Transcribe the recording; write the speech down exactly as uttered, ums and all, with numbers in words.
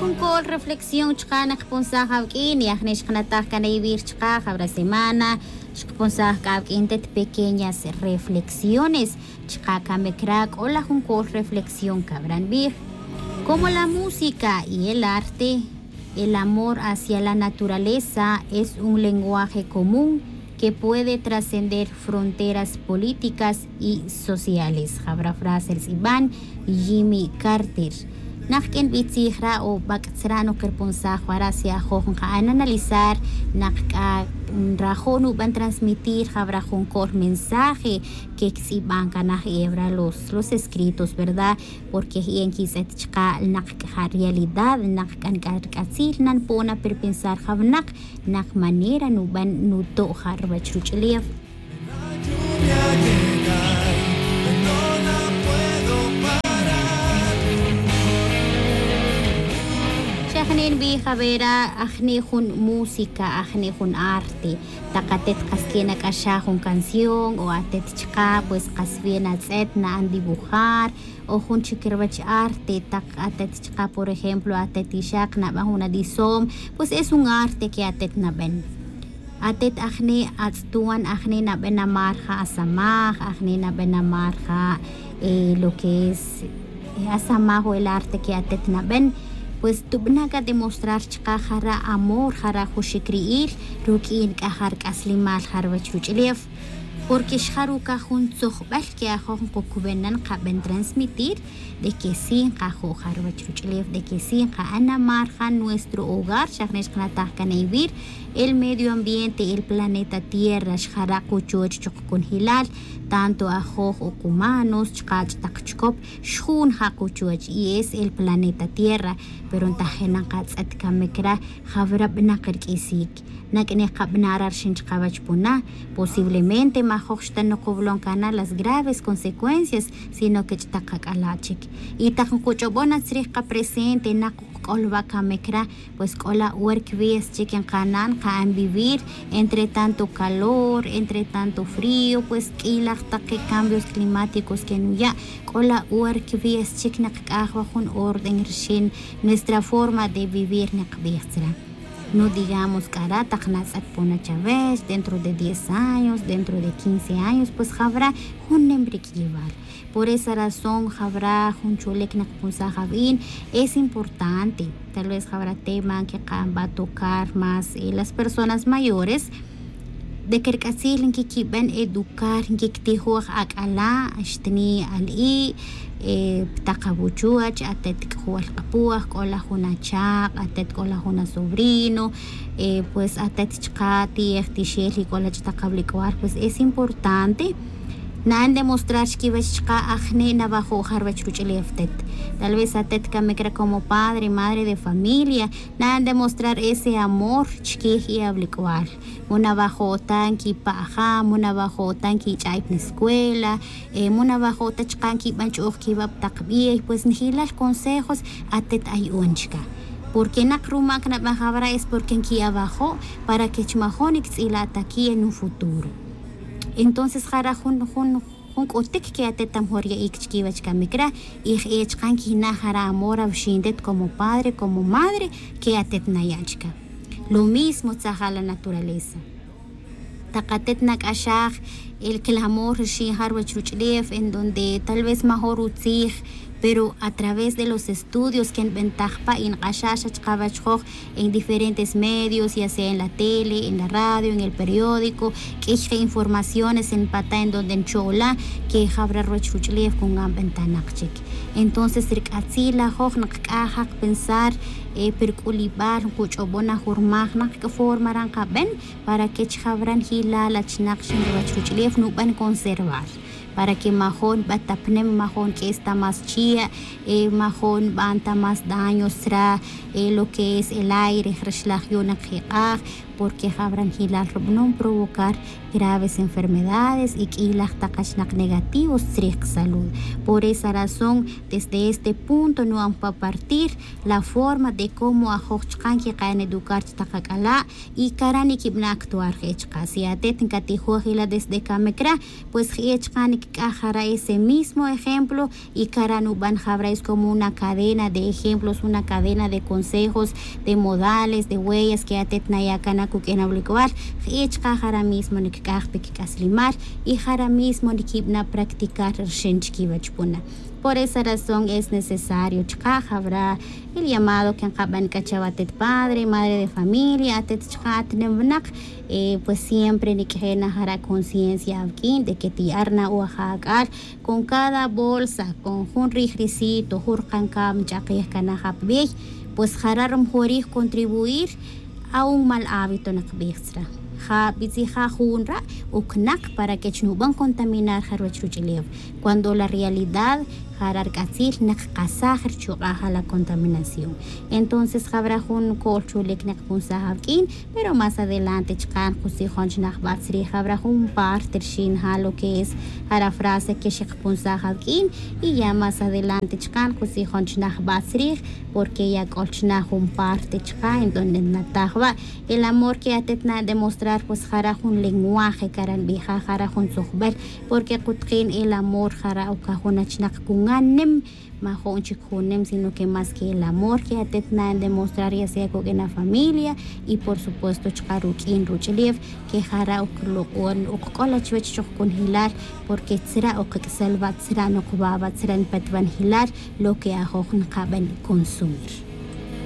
Jun col reflexión chka' naqpunsaj awq'uin y ajne' xqnataj can ewir chka' jawra semana xqpunsaj c'a awq'uin tet pequeñas reflexiones chka' camic ra c'o la jun col reflexión cawra nbij. Como la música y el arte, el amor hacia la naturaleza es un lenguaje común que puede trascender fronteras políticas y sociales. Jawra frase rtz'iban Jimmy Carter. Naq q'uin bitzij ra o bac'tzra' no kerpunsaj wara si ajoj nqa'an analizar naq c'a nrajo' nuban transmitir jawra jun col mensaje que ctz'iban canaj ewra los los escritos, verdad? Porque je' nquitz'et chka' naq c'a realidad naq c'a nc'a rc'atzil nanpo'on aperpensar jawnak naq manera nuban nuto' ja' ruwech ruch'ulef. Xa jne' nbij awera ajne' jun música ajne' jun arte. Tak atet kas que nac'axaj jun canción o atet chka' pues kas bien atz'et na'an dibujar o jun chic ruwech arte tak atet chka' por ejemplo atet ixak naban jun adisom, pues es un arte que atet naben. Atet ajne' atz'tuan ajne' naben amar ja' asamaj ajne' naben amar ja' lo que es asamaj o el arte que atet naben. Pues tubana' c'a demostrar chka' jara' amor jara' jun xic ri'il ruq'uin c'a ja' rc'aslemal ja' ruwech ruch'ulef. Porque xjarucaj jun tzojbel que ajoj nkucuben na nkaben transmitir de que si nkajo' ja' ruwech ruch'ulef de que si nka'an amar ja' nuestro hogar xa jne' xkanataj can ewir el medio ambiente el planeta tierra xjara' kuchoch chuk kunjilal tanto ajoj o kumanos chka' ch'tak chikop xjun ja' kuchoch y es el planeta tierra. Pero ntajin nkatz'et camic ra jawra bnak rq'uisic nac'ne kabana' ra rxin chkawech puna. Posiblemente majoj xta nukowlon cana las graves consecuencias sino que ch'tak kac'ala' chic y tak nkuch'obon na tzrij kapresente nak kukc'olwa' camic ra. Pues c'o la' wer cwies chic nkana' nka'an vivir entre tanto calor entre tanto frío pues q'uilaj tak cambios climáticos que nuya'. C'o la' wer cwies chic nkac'aj wa jun orden rxin nuestra forma de vivir nkbij tzra'. No digamos c'a ra tak natz'et pona chawech dentro de diez años dentro de quince años pues jawra jun nim rik'iyewal. Por esa razón jawra jun cholic nkapunsaj awin es importante tal vez jawra tema nkika'an ba tocar más las personas mayores de que rc'atzil nkiquiben educar nkictijoj ac'ala' xtni' al'i' pi tak awuchuwach atet c'o wal kapuaj c'o la jun achak' atet c'o la jun asobrino pues atet chka' ti'ej tixel y c'o la ch'tak awlic'wal pues es importante na'an demostrar chkiwech chka' ajne' nawajo' ja ruwech ruch'ulef tet. Tal vez atet camic ra como padre madre de familia na'an demostrar ese amor chkij y awlic'wal. Mu nawajo' ta nquipa'ja mu nawajo' ta nquich'ay pa nescuela mu nawajo' ta chka' nquiban ch'o'j quiwa' pa tak bey pues njelal consejos atet ayo'on chka'. Porque nak rumac naban jawra es porque nquiawajo' para que chmajo' nictz'ila' ta qui' en un futuro. Entonces jara' jun jun jun c'utic que atet amejor ya'ic chquiwech camic ra y je' chka' nquijna' jara' amor awxin tet como padre como madre que atet naya' chka'. Lo mismo tzaja la naturaleza. Tak atet nac'axaj el clamor rxin ja ruwech ruch'ulef en donde tal vez major utzij pero a través de los estudios que nbentaj pa y nk'axaj xa chkawech joj en diferentes medios ya sea en la tele en la radio en el periódico q'uiy je' informaciones npata' en donde ncho'la que jawra ruwech ruch'ulef con ngan bentanak chic. Entonces rc'atzil la joj nkc'aj ja kpensar pi rc'ulibal nkuch'obon na jun rmaj nak c'a forma ra nkaben para que chi jawra njilal achinak xin ruwech ruch'ulef nuben conservar para que majo' nbetapnem majo' nq'ues ta más chia' majo' nban ta más daños tzra' lo que es el aire rixlaj yu'un nkjik'aj. Porque jawra njilal rubanom provocar graves enfermedades y q'uiylaj tak achinak negativos tzrij kasalud. Por esa razón desde este punto nu'an pa partir la forma de cómo ajoj chka' nkika'an educar chi tak ak'ala' y cara' niquibana' actuar je' chka' si atet ncatijoj ila desde camic ra pues je' chka' c'a jara' ese mismo ejemplo. Y cara' nuban jabra es como una cadena de ejemplos, una cadena de consejos, de modales, de huellas que atet naya' cana cuq'uin awlic'ual. Jich ka jara' mismo nicic'aj pe quic'aslimal y jara' mismo niquibana' practicar rixin chiquiwech puna. Por esa razón es necesario chka jabra el llamado que nkaban c'a chawa atet padre, madre de familia, atet chka atnem winak. Pues siempre niq'ueje' na jara' conciencia awuq'uin de que tiya' rna' wa ja ac'al con cada bolsa, con jun rij risito jun rkankam nch'akij cana ja pa bey. Pues jara' ri mejorij contribuir a un mal hábito nqbij tzra. Ja bitzija jun ra' ucnak para que chi nuban contaminar ja ruwech ruch'ulew, cuando la realidad jara' rc'atzil nqkasaj richuk'a' ja la contaminación. Entonces jabra jun co'l chulic nqpunsaj awuq'uin. Pero más adelante chka' nqutzijon chi najba' tzrij jabra jun parte rixin ja lo que es jara' frase que xqpunsaj awuq'uin. Y ya más adelante chka' nqutzijon chi najba' tzrij porque ya c'ol chna jun parte chka' en donde nataj wa' el amor que atet na demostrar pues jara' jun lenguaje cara' nbija jara' jun tzujbel. Porque kutuqin el amor jara' ucajun achnak cungan nim, majo'n chic jun nim sino que más que el amor que atet na demostrar ya sea cuq'uin afamilia y por supuesto chka ruq'uin ruch'ulew, que jara' uclok'on ukc'ola chuwech chujcunjelal. Porque tzra' ukc'sel wa' tzra' nukba' wa' tzra' npetbanjelal lo que ajoj nkaban consumir.